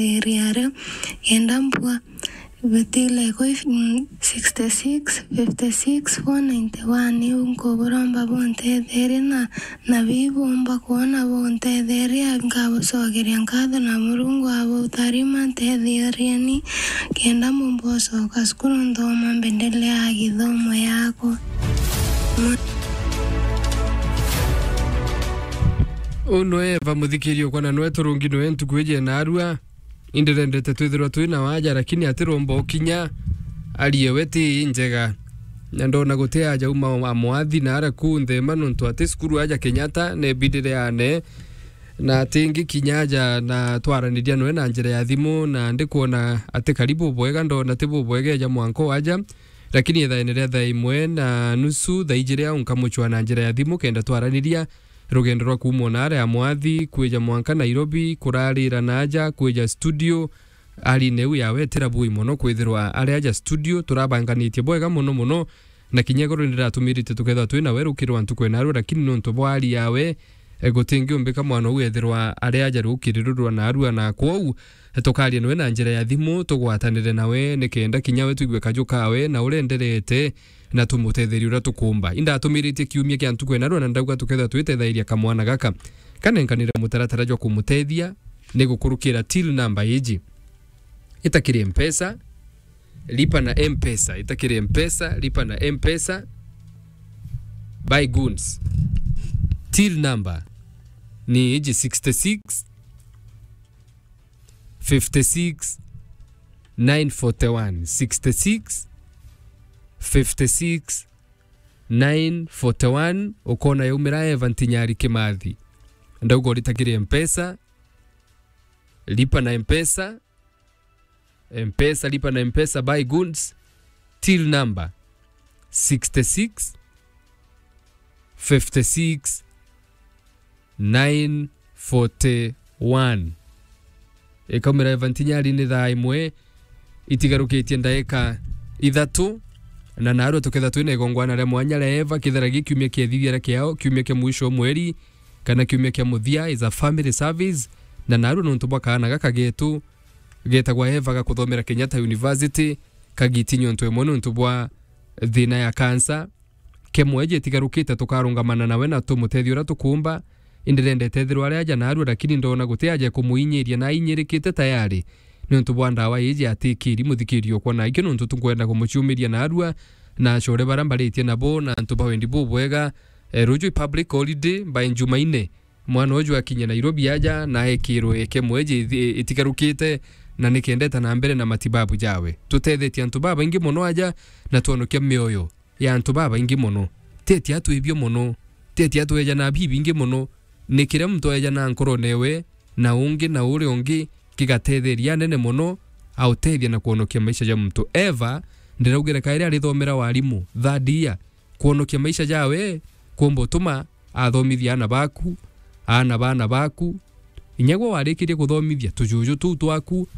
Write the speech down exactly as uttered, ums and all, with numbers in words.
Area aria kenda mbua bitile kwi, mm, sixty six, fifty six, four ninety one. Iu nkuburomba buntetherie na, na bibumba kwona buntetherie, nkabucokeria nkatho na Murungu abutharima. Ntetheerieni kenda mbumba ucoka cukuru nthoma mbendeleaa githomo yakwa. Uu nwe Eva muthikiri ukwa na nwe turungi nwe ntuku iji naarua. Indirendete twithirwa twi na waja, lakini atiromba ukinya. Arie we ti njega. Na ndona guti aja uma wa mwathi na ara ku nthema nontu ati cukuru aja Kenyatta, nebidire ane. Na ati ngikinya aja na twaraniria nwe na njira ya thimu, na ndikwona ati karibu bwega, ndona ti bubwega eja mwanka waja. Lakini ithaene ria thaa imwe na nusu, thaa ijiri au nkamuchwa na njira ya thimu kenda twaraniria. Rugendo rwa kuuma o naara ya mwathi kwija mwanka Nairobi, kurarira naaja, kwija studio, ari neu yawe tira bui mono kwithirwa ari aja studio, turabanganitie bwega mono mono, na kinya igoro ndiratumirite tukethirwa twi nawe rukiri rwa ntuku enarua, lakini nontu bwa ari yawe, e, gutingiumbika mwana uu ethirwa ari aja rukiri ruru rwa narua, na kwou, e, tukaria nawe na njira ya thimu, tugwatanire nawe, nikenda kinya we twigue kaju kawe, na uria enderete, na tumutetherie uria tukumba. Indatumiritie kiumia kia ntuku enarua na ndauga tukethirwa twitethairia kamwana gaka kanenkanire mutaratara jwa kumutethia ni gukurukira till number iji. Itakiri Mpesa, lipa na Mpesa, itakiri Mpesa, lipa na Mpesa. Buy goods. Till number ni iji sixty six, fifty six, nine forty one, sixty six, fifty six, nine forty one, ukona yaumira Eva Ntinyari Kimathi. Ndauga uritakire Mpesa, lipa na Mpesa, Mpesa, lipa na Mpesa, buy goods, till number sixty six, fifty six, nine forty one. Ikaumira Eva Ntinyari ni thaa imwe itigarukitie ndaika ithatu, na narua tukethirwa twina igongwana ria mwanya ria Eva, kethira gi kiumia kia ithithia ria kiao, kiumia kia mwisho o mweri, kana kiumia kia muthia, is a family service, na narua nontu bwa kaana gaka getu, getagwa Eva, gakuthomera Kenyatta University, kagiti nyontu imwe nontu bwa thina ya cancer. Kemwe jitigarukite tukarungamana nawe na tumutethia uria tukumba. Indirendete ethirwa ari aja narua, lakini ndona guti aja kumuinyiria na ainyirikite tayari. Niuntu bwa ndawa iji atikiri muthikiri okwa na ikio nontu tunkwenda kumuciumiria narua na acore baria mbaritie nabo na antu ba wendi bubwega. E, ruju i public holiday by Njumaine. Mwana uju akinye Nairobi aja na ekirwe kemwe ji ithi-, itigarukite na nikendeta na mbere na matibabu jawe. Tutethetie antu babaingi mono aja na twonokia mioyo ya antu babaingi mono. Teti atwibio mono. Teti atweja na bibingi mono. Ni kiria muntu aeja na nkorone we na ungi na uria ungi kigatetheria anene mono autethia na kwonokia maisha ja muntu. Eva, ndiraugire kairi arithomera warimu third year. Kwonokia maisha jawe, kuumba utuma athomithia aana baku, aana ba aana baku. Inya gwe warikirie kuthomithia tujuju tuu twaku,